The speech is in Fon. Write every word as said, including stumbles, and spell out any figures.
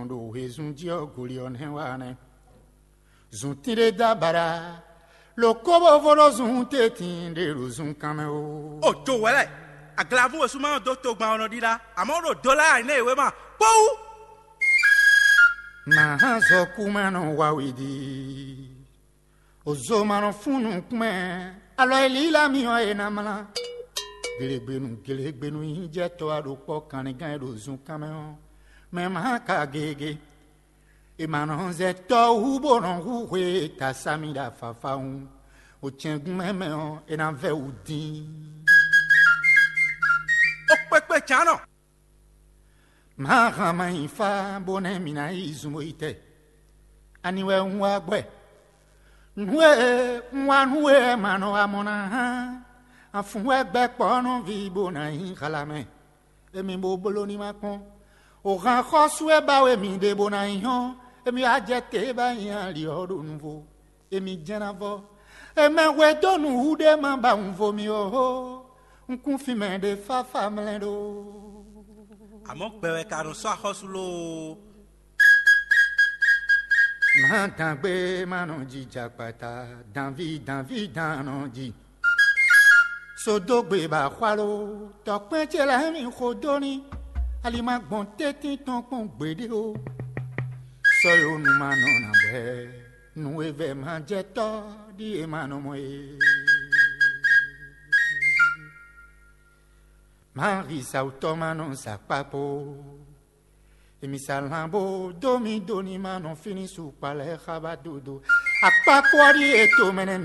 Ɖo wezun jí ɔ́, goli ɔ́ nɛ́ wa nɛ́. Zun tínɖé dó abaɖa, lo kóbóvó ɖó zun tɛ́ntin ɖé ɖo zunkan mɛ ó. O jo wɛ lɛ, aglavú wesúma ɔ́ dó togban ɔ́ nɔ ɖíɖá, amɔ̌ ɖo dó lá nɛ́ yě wé ma kpɔ́wú. Mǎ hán zɔkú ma nɔ wa wěɖi. Ozo ma nɔ fún nukún mɛ, alɔ e lílá mi ɔ́, è nǎ mlá. Gelegbenu, gelegbenu nyi jɛ tɔ wá ɖo kpɔ́ kanlingán e ɖo zunkan mɛ ɔ́, mɛ ma ka gege. È ma nɔ zɛ tɔ́ hú bó nɔ hú hwe e ta sami ɖo afafawun. Ocɛngun mɛ mɛ ɔ́, è nǎ vɛ wǔ dín. Ó kpékpé cǎnɔ. Má hán má nyi fá bó nɛ́ mǐ ná yi zun bó yi tɛ. Ani wɛ un wá gbɛ? Nǔ e un wá nú we wɛ ma nɔ wá mɔ ná hán. Afun wɛ gbɛ kpɔ́ nɔ ví bó ná nyi xala mɛ. Emi bo bló ní ma kpɔ́n. O hán xɔ́sú e ba we mì ɖe bó ná nyi hɔ́n. Emi wá jɛ te ba nyi ali ɔ́ ɖo nuvo. Emi jɛ́n ná vɔ. Emɛ hwedónu hú ɖé ma ba wunvo mi ó hó. Un kún fin mɛ ɖé fáfá mlɛ́ ɖó. Àmọ́ gbɛ wɛ ka nɔ sɔ́ axɔ́sú lóó. Má dǎngbé má nɔ jija kpata, dǎnví dǎnví dǎn nɔ ji. Sodógbe ba xwalo, tɔkpɛn ce lɛ́ɛ mi xo dó ní. Ali ma gbɔn tɛ́ntin tɔn kpɔn gbeɖé ó. Sɔ́yonu ma nɔ nǎ bɛ́, nǔ e vɛ́ ma jɛ tɔ́ ɖíe ma nɔ mɔ é. Mahi sawutɔ́ ma nɔ sa kpakpo. Emi sa lan bó dó mi dó ní ma nɔ fínní su kpa lɛ́ɛ xá ba dodo. Akpakpo ɔ́ ɖíe to mɛ nɛ́ mi.